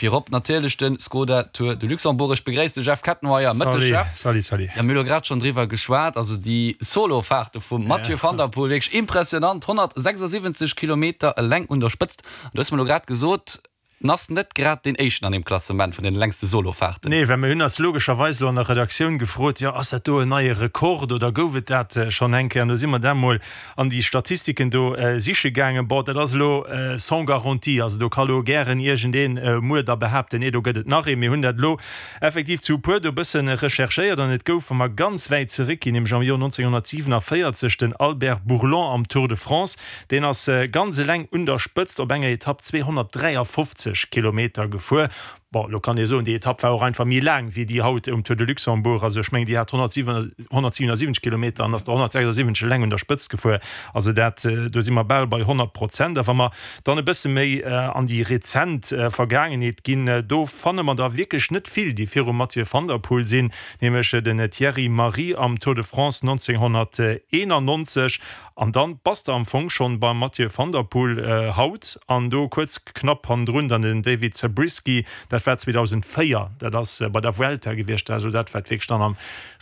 Virop natierlech de Skoda Tour de Luxembourg. Ech begréiss de Jeff Kettenmeyer. Mëtteg Jeff. Salut, salut. Jo, mir hu lo grad schonn driwwer geschwat. Also déi Solo-Faarte vum Mathieu van der Poel, wierklech impressionant. 176 Kilometer eleng un der Spëtzt. An du hues mer lo grad gesot, En ass net grad deen éischten an deem Klassement vun den längste Solofaarten. Nee, well mir hunn eis logescherweis elo an der Redaktioun gefrot, jo, ass dat do en neie Rekord oder gouf et dat schonn eng Kéier? An do si mer da mol an déi Statistiken do siche gaangen. Bon, dat ass elo sans garantie, also do ka lo gären iergendeen muer da behaapten, nee, do gëtt et nach een. Mir hunn dat elo effektiv zu e puer do e bësse recherchéiert an et gouf, wa mer ganz wäit zeréckginn, nämlech am Joer 1947 den Albert Bourlon am Tour de France, Deen ass ganz eleng un der Spëtzt op enger Etapp 253 Kilometer gefuer. Bon, elo kann ee soen, déi Etapp war och einfach méi laang wéi déi haut um Tour de Luxembourg. Also ech mengen, déi hat 177 Kilometer an ass der 176 eleng un der Spëtzt gefuer. Also dat, do si mer bal bei 100 Prozent. A wa mer dann e bësse méi an déi rezent Vergaangenheet ginn, do fanne mer der wierklech net vill, déi virum Mathieu van der Poel sinn, nämlech den Thierry Marie am Tour de France 1991. An dann bass de am Fong schonn beim Mathieu van der Poel haut an do kuerz knapp hannendrun dann den David Zabriskie, dat war 2004, dat ass bei der Vuelta gewiescht, also dat wat wierklech dann am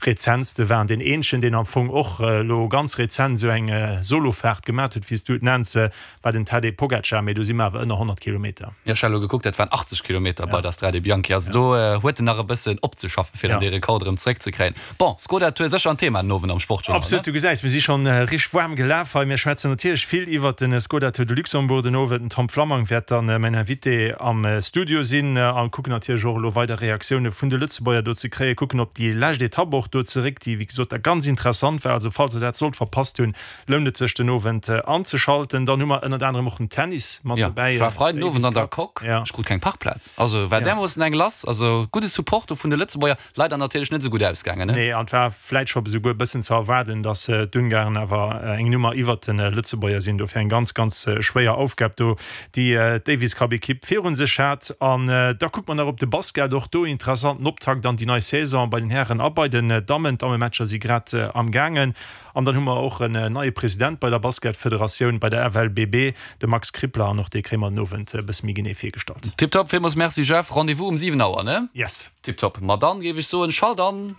rezentste war. An deen eenzegen deen am Fong och elo ganz rezent esou eng Solofaart gemat huet, wéi s du et nenns, war den Tadej Pogacar, mee do si mer awer ënner 100 Kilometer. Jo, ech hat elo gekuckt, dat waren 80 Kilometer bei der Strade Bianchi. Also do huet en nach e bëssen opzeschaffen, fir dann dee Rekord erëm zeréckzekréien. Bon, Skoda Tour, sécher en Thema den Owend am Sportjournal, ne? Absolut, du gesäis, mir si schonn richteg waarm gelaf hei. Mir schwätzen natierlech vill iwwert de Skoda Tour de Luxembourg den Owend. Den Tom Flammang wäert dann mäin Invité am Studio sinn a kucken natierlech och elo weider Reaktioune vun de Lëtzebuerger do ze kréien, kucken op déi lescht Etapp och do zeréck, déi wéi gesot da ganz interessant war. Also falls der dat sollt verpasst hunn, Lount et sech den Owend anzeschalten. Dann hu mer ënnert anerem och den Tennis mat dobäi. Jo, ech war Freiden Owend an der Coque, ech krut keng Parkplaz. Also war därmoossen eng lass. Also gudde Support do vun de Lëtzebuerger. Leider natierlech net esou gutt ausgaangen, ne? Nee, an et war vläit scho esouguer e bëssen ze erwaarden, datt d'Ungarn awer eng Nummer iwwert de Lëtzebuerger sinn. Dofir eng ganz, ganz schwéier Aufgab do, déi d'Davis Cup Ekipp virun sech hat. An da kucke mer nach op de Basket. Och do interessanten Optakt an déi nei Saison bei den Hären a bei den Dammen. D'Dammematcher si grad am gaangen. An dann hu mer och en neie President bei der Basketfederatioun, bei der FLBB, de Max Krippler, an och dee kréie mer den Owend e bësse méi genee virgestallt. Tiptop, villmools Merci Jeff. Rendez-vous um 7 Auer, ne? Yes. Tiptop, ma dann géif ech soen, schalt an!